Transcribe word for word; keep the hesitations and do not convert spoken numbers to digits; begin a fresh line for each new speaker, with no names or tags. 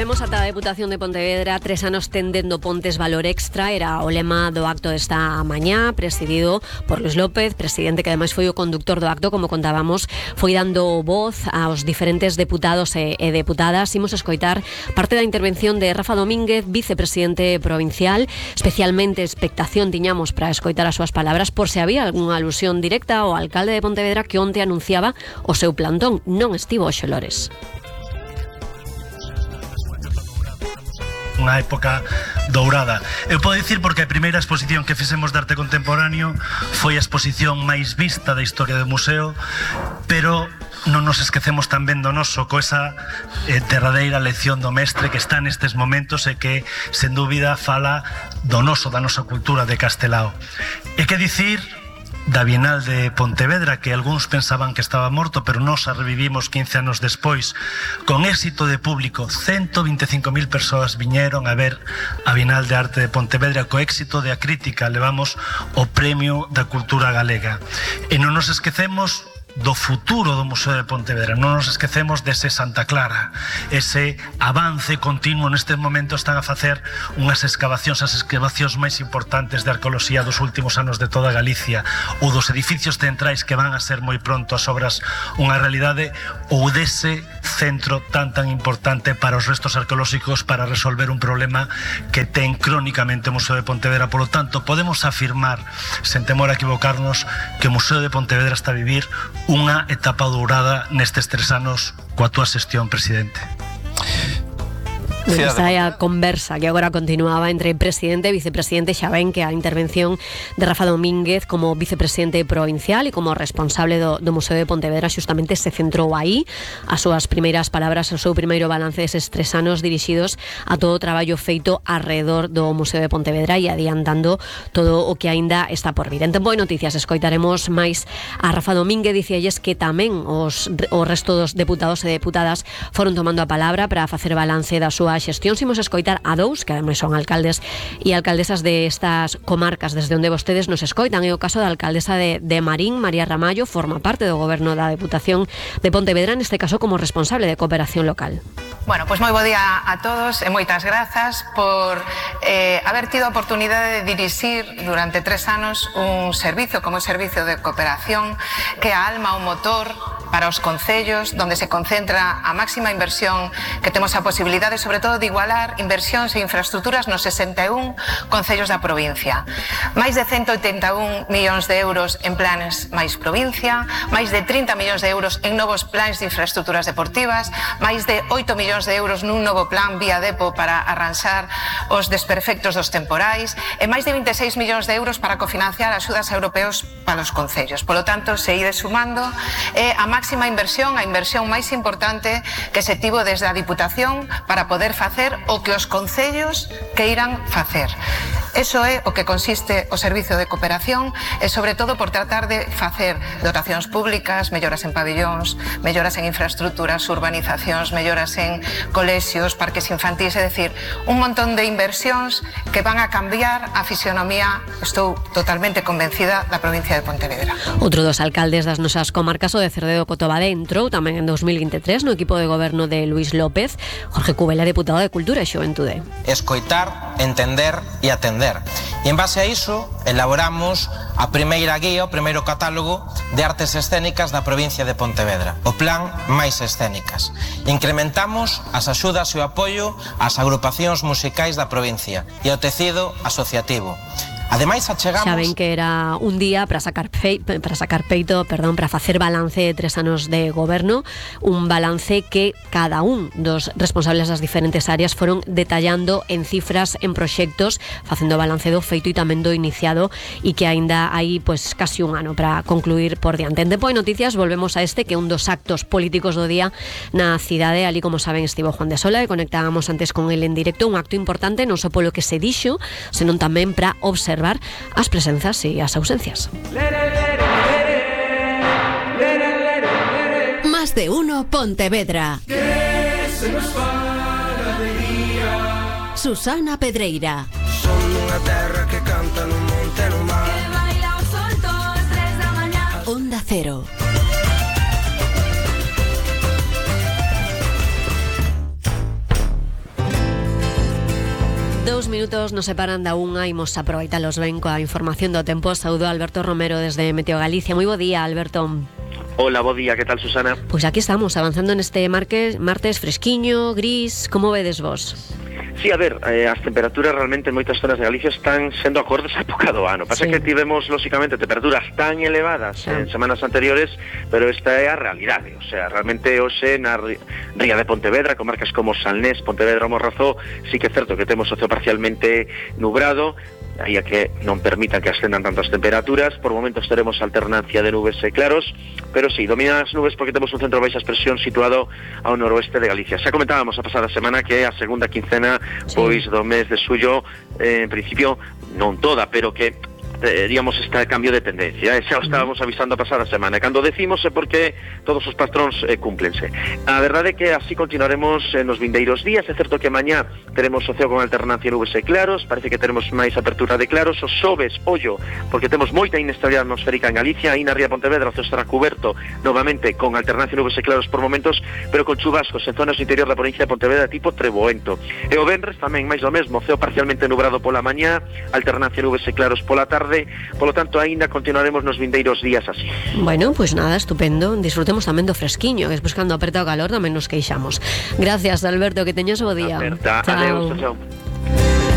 Volvemos ata a Deputación de Pontevedra. Tres anos tendendo pontes valor extra era o lema do acto desta mañá, presidido por Luis López, presidente que ademais foi o conductor do acto, como contábamos, foi dando voz aos diferentes deputados e, e deputadas. Imos escoitar parte da intervención de Rafa Domínguez, vicepresidente provincial. Especialmente expectación tiñamos para escoitar as súas palabras por se había algunha alusión directa ao alcalde de Pontevedra que onte anunciaba o seu plantón. Non estivo hoxe Lores.
Unha época dourada. Eu podo dicir porque a primeira exposición que fixemos de arte contemporáneo foi a exposición máis vista da historia do museo, pero non nos esquecemos tamén do noso, co esa eh, derradeira lección do mestre que está nestes momentos e que, sen dúbida, fala do noso, da nosa cultura de Castelao. E que dicir da Bienal de Pontevedra, que algúns pensaban que estaba morto, pero nós a revivimos quince anos despois, con éxito de público. Ciento vinte e cinco mil persoas viñeron a ver a Bienal de Arte de Pontevedra. Co éxito da crítica levamos o Premio da Cultura Galega. E non nos esquecemos do futuro do Museo de Pontevedra, non nos esquecemos dese Santa Clara, ese avance continuo. Nestes momentos están a facer unhas excavacións, as excavacións máis importantes de arqueoloxía dos últimos anos de toda Galicia, ou dos edificios centrais que van a ser moi pronto as obras unha realidade, ou dese centro tan tan importante para os restos arqueolóxicos para resolver un problema que ten crónicamente o Museo de Pontevedra. Por lo tanto, podemos afirmar, sen temor a equivocarnos, que o Museo de Pontevedra está a vivir unha etapa dourada nestes tres anos coa túa xestión, presidente.
Esta é a conversa que agora continuaba entre presidente e vicepresidente. Xa ven que a intervención de Rafa Domínguez como vicepresidente provincial e como responsable do, do Museo de Pontevedra xustamente se centrou aí. As súas primeiras palabras, o seu primeiro balance deses tres anos dirixidos a todo o traballo feito alrededor do Museo de Pontevedra e adiantando todo o que aínda está por vir. En Tempo de Noticias escoitaremos máis a Rafa Domínguez. Dicíalles que tamén os, o resto dos deputados e deputadas foron tomando a palabra para facer balance da súa xestión. Imos escoitar a dous, que ademais son alcaldes e alcaldesas de estas comarcas desde onde vostedes nos escoitan. É o caso da alcaldesa de, de Marín, María Ramallo, forma parte do goberno da Deputación de Pontevedra, neste caso como responsable de cooperación local.
Bueno, pois pues moi bo día a todos e moitas grazas por eh, haber tido a oportunidade de dirixir durante tres anos un servicio como o Servicio de Cooperación, que é a alma, o motor para os concellos, donde se concentra a máxima inversión que temos a posibilidade, sobre todo, de igualar inversións e infraestructuras nos sesenta e un concellos da provincia. Máis de ciento oitenta e un millóns de euros en planes máis provincia, máis de trinta millóns de euros en novos plans de infraestructuras deportivas, máis de oito millóns de euros nun novo plan vía Depo para arranxar os desperfectos dos temporais e máis de vinte e seis millóns de euros para cofinanciar axudas europeos para os concellos. Por lo tanto, se ide sumando é a máxima inversión, a inversión máis importante que se tivo desde a Diputación para poder facer o que os concellos queiran facer. Eso é o que consiste o Servicio de Cooperación e, sobre todo, por tratar de facer dotacións públicas, melloras en pabellóns, melloras en infraestructuras, urbanizacións, melloras en colexios, parques infantís, é dicir, un montón de inversións que van a cambiar a fisionomía, estou totalmente convencida, da provincia de Pontevedra.
Outro dos alcaldes das nosas comarcas, o de Cerdedo Cotobade, entrou tamén en dos mil veintitrés no equipo de goberno de Luis López. Jorge Cubela, deputado de Cultura e Xuventude.
Escoitar, entender e atender. E en base a iso elaboramos a primeira guía, o primeiro catálogo de artes escénicas da provincia de Pontevedra, o plan Máis Escénicas. Incrementamos as axudas e o apoio ás agrupacións musicais da provincia e ao tecido asociativo. Ademais, achegamos...
Xa ven que era un día para sacar fei, para sacar peito, perdón, para facer balance de tres anos de goberno, un balance que cada un dos responsables das diferentes áreas foron detallando en cifras, en proxectos, facendo balance do feito e tamén do iniciado, e que aínda hai pues casi un ano para concluir por diante. En Tempo de Noticias volvemos a este, que é un dos actos políticos do día na cidade. Ali, como saben, estivo Juan de Sola e conectábamos antes con el en directo, un acto importante non só polo que se dixo, senón tamén para observar as presenzas e as ausencias.
Más de uno Pontevedra. Susana Pedreira.
Son unha terra que canta no monte no mar. Que baila o sol todas tres da mañá.
Onda Cero.
Dous minutos nos separan da unha, imos aproveitalos ben coa información do tempo. Saúdo a Alberto Romero desde Meteo Galicia. Moi bo día, Alberto.
Hola, bo día, que tal, Susana?
Pois aquí estamos, avanzando neste martes, martes fresquiño, gris. Como vedes vos?
Sí, a ver, eh, as temperaturas realmente en moitas zonas de Galicia están sendo acordes á época do ano. Pasa sí. que tivemos, lóxicamente, temperaturas tan elevadas sí. en semanas anteriores, pero esta é a realidade. O sea, realmente hoxe na ría de Pontevedra, comarcas como Salnés, Pontevedra ou Morrazó, sí que é certo que temos o ceo parcialmente nubrado, aí a que non permitan que ascendan tantas temperaturas. Por momentos teremos alternancia de nubes e claros, pero sí, dominan as nubes porque temos un centro de baixa presión situado ao noroeste de Galicia. Xa comentábamos a pasada semana que a segunda quincena sí. pois do mes de xullo, eh, en principio non toda, pero que teríamos este cambio de tendencia, eh? xa o estábamos avisando a pasada semana, e cando decimos é porque todos os patróns eh, cúmplense. A verdade é que así continuaremos eh, nos vindeiros días. É certo que mañá teremos o ceo con alternancia de nubes e claros, parece que teremos máis apertura de claros. Os xoves, ollo, porque temos moita inestabilidade atmosférica en Galicia, aí na ría de Pontevedra o ceo estará cuberto novamente con alternancia de nubes e claros por momentos, pero con chubascos en zonas do interior da provincia de Pontevedra tipo Treboento. E o venres tamén máis do mesmo, o ceo parcialmente nubrado pola mañá, alternancia de nubes e claros pola tarde. Por lo tanto, aínda continuaremos nos vindeiros días así.
Bueno, pois pues nada, estupendo. Disfrutemos tamén do fresquiño, que despois cando aperta o calor tamén nos queixamos. Gracias, Alberto, que teñas o bo día.
Aperta,
chao.
Adeus, chao.